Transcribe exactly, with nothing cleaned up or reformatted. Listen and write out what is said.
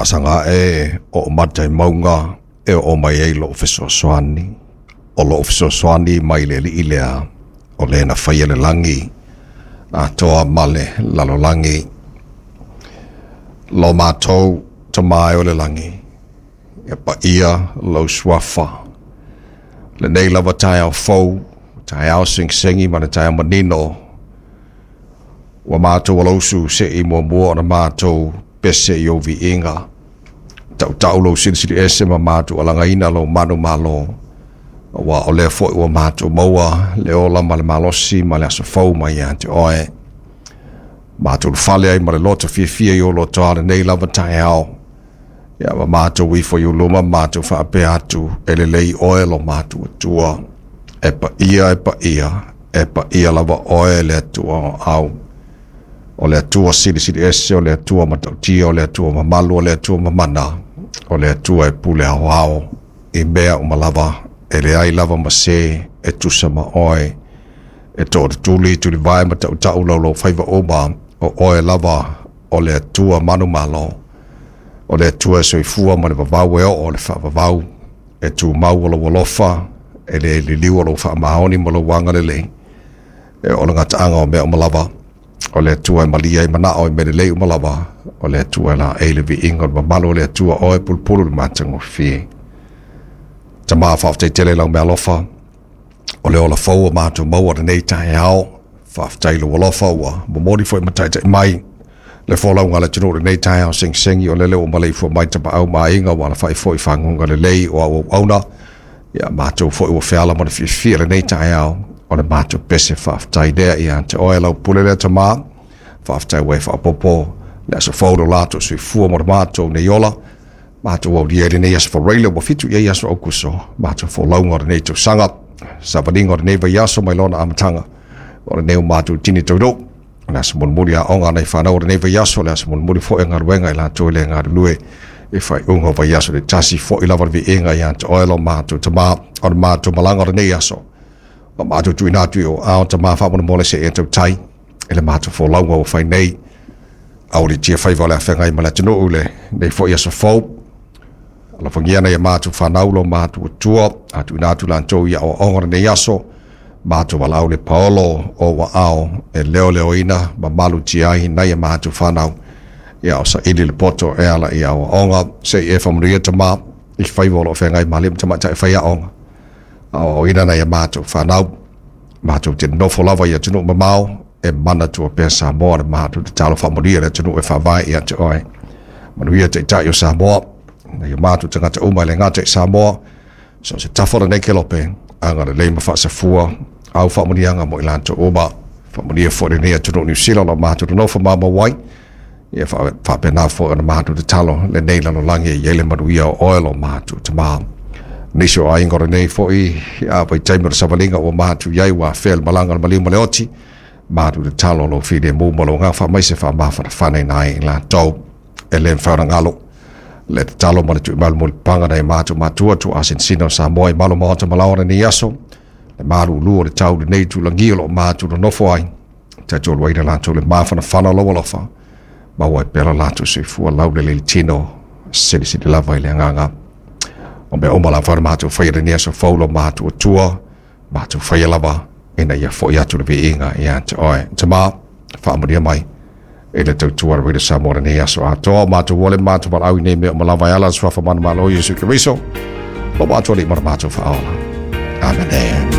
Faasaga e o matai maunga e o mai ai lou fesoasoani. O lou fesoasoani mai le alii lea o le na faia le lagi atoa ma le lalolagi. Lo matou Tama e o le lagi, e paia lou suafa. Lenei lava taeao fou, taeao segisegi ma le taeao manino, ua matou alausu se'i muamua ona matou pese i ou viiga. Tautau lou silisili ese ma matou alagaina lou manumalo, ua o lea foi ua matou maua le ola ma le malosi ma le aso fou mai ia te oe. Matou fale ai ma le loto fiafia i o lotoa lenei lava taeao. Ia ma matou ifo i luma matou faapea atu e lelei oe lo matou Atua. E paia, e paia, e paia lava oe le Atua o au. O le Atua silisili ese, o le Atua matautia, o le Atua mamalu, o le Atua mamana, o le Atua e pule aoao i mea uma lava, e leai lava ma se e tusa ma oe. E tootuli tulivae ma tautau lau faiva uma, o oe lava o le Atua manumalo, o le Atua e soifua ma le vavau e oo o le faavavau, e tumau o lou alofa, e le liliu o lou faamaoni ma lou agalelei, e o le gataaga o mea uma lava, o le Atua e malia ai manao i mea lelei uma lava, o le Atua e laei le viiga o le mamalu o le Atua oe pulupulu le matagofie. Tama faafetai tele lau mealofa, o le ola fou o matou maua lenei taeao, faafetai lou alofa ua momoli foi ma taitai mai le folauga a le atunuu lenei taeao segisegi, o lele ua maleifua mai tapaau ma aiga ua alafai foi faguga lelei o auauauna. Ia matou foi ua feala ma le fiafia lenei taeao, o le matou pese faafetai lea ia te oe lau pule lea Tama. Faafetai ua e faaopoopo le aso fou lo latou soifua mo le matou nei ola. Matou aulia i lenei aso Faraile ua fitu i ai aso Aukuso, matou folauga o lenei tausaga, savaliga o lenei vaiaso mai lona amataga, o lenei o matou tini taunuu. O le aso mulimuli aoga nai fanau o lenei vaiaso, o le aso mulimuli foi o galuega i latou e le galulue i faaiuga o vaiaso le tasi foi lava le viiga ia te oe lo matou Tama, o le matou malaga o lenei aso. O matou tuuina atu i o ao Tama faamolemole se e tautai e le matou folauga ua fai nei. Aulitia faiva o le afeagai ma le atunuu lenei foi aso fou. Alofagia nai a matou fanau lo matou Atua, a tuuina atu latou i aoaoga o lenei aso. Matou valaau le paolo o ua e leoleoina ma malutia ai nai a matou fanau. Ia o saili le poto e ala i aoaoga, se i e faamanuia Tama i faiva o loo feagai ma alii ma tamaitai faiaoga. Aoaoina nai a matou fanau, matou te nofo lava i atunuu mamao, e manatua pea Samoa le matou tatalo faamanuia le atunuu e faavae ia te oe. Manuia taitai o Samoa, nai o matou tagata uma e le gata i Samoa, so se tafa o lenei kelope, agalelei ma faasafua, au faamanuiaga mo i latou uma. Faamanuia foi lenei atunuu Niu Sila o lo matou nonofo mamau ai, ia faapena foi ona matou tatalo lenei lalolagi e i ai le manuia o oe lo matou Tama. Nisi o aiga o lenei foi a vaitaimi o le savaliga ua matou i ai ua afea le malaga o le maliu ma le oti, matou tatalo lou filemu ma lou agaga faamaise faamafanafanaina ai i latou e le mafai ona galo. Le tatalo ma le tuumalu mulipapaga nai matou matua tuuasinasina o Samoa i malu maota ma laoa lenei aso, le malulu o le tau lenei tulagi o loo matou nonofo ai, taitoluaina latou le mafanafana o lou alofa, maua ai pea lo latou soifua laulelei le tino, silisili lava i le agaga. O mea uma lava na matou faia lenei aso fou lo matou Atua, matou faia lava ina ia foi atu le viiga ia te oe. Tama, faamanuia mai e le tautua le Samoa lenei aso atoa. Matou ole matou valaau i nei mea uma lava e ala le suafa manumalo o Iesu Keriso, lo matou alii ma le matou faaola. Amene.